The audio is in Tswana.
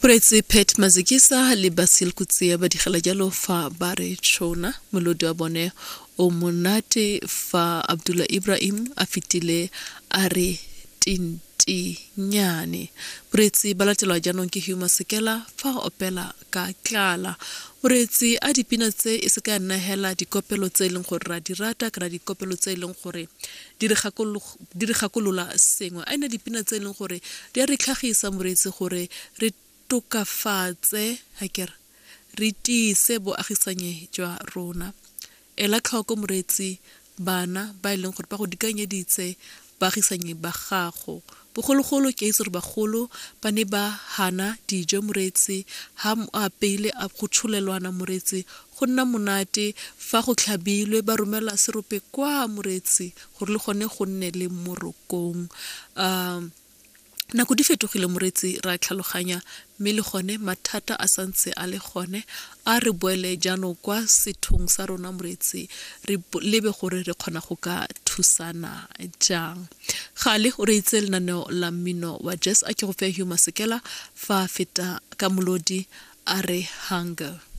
Moreetsi Pat Mazikisa le Basil Kutsia ba digela jalo fa ba re tšhona molodi wa bone o monate fa Abdullah Ibrahim a fetile a re tintinyane. Moreetsi ba latelwa jaanong ke Hugh Masekela fa a opela ka tlala. Moreetsi a dipina tse e se ka ya nna hela dikopelo tse e leng gore ra di rata kana dikopelo tse e leng gore di re di re gakolola sengwe. A e nne dipina tse e leng gore di a re tlhagisa moreetsi gore re tokafatse akere re tiise boagisanye jwa rona. Ela tlhoko moreetsi bana ba e leng gore ba go dikanyeditse baagisanyi ba gago. Bogologolo ke a itse gore bagolo ba ne ba hana dijo moreetsi ha a apeile a go tsholelwana moreetsi go nna monate fa go tlhabilwe ba romela serope kwa moreetsi gore le gone go nne le morokong. Um nako di fetogile moreetsi ra tlhaloganya mme le gone mathata a santse a le gone a re boele jaanong kwa sethong sa rona moreetsi re lebe gore re kgona go ka thusana jang. Gale o reitse lenaneo la mmino wa jazz a ke go fe Hugh Masekela fa a feta ka molodi a re hunger.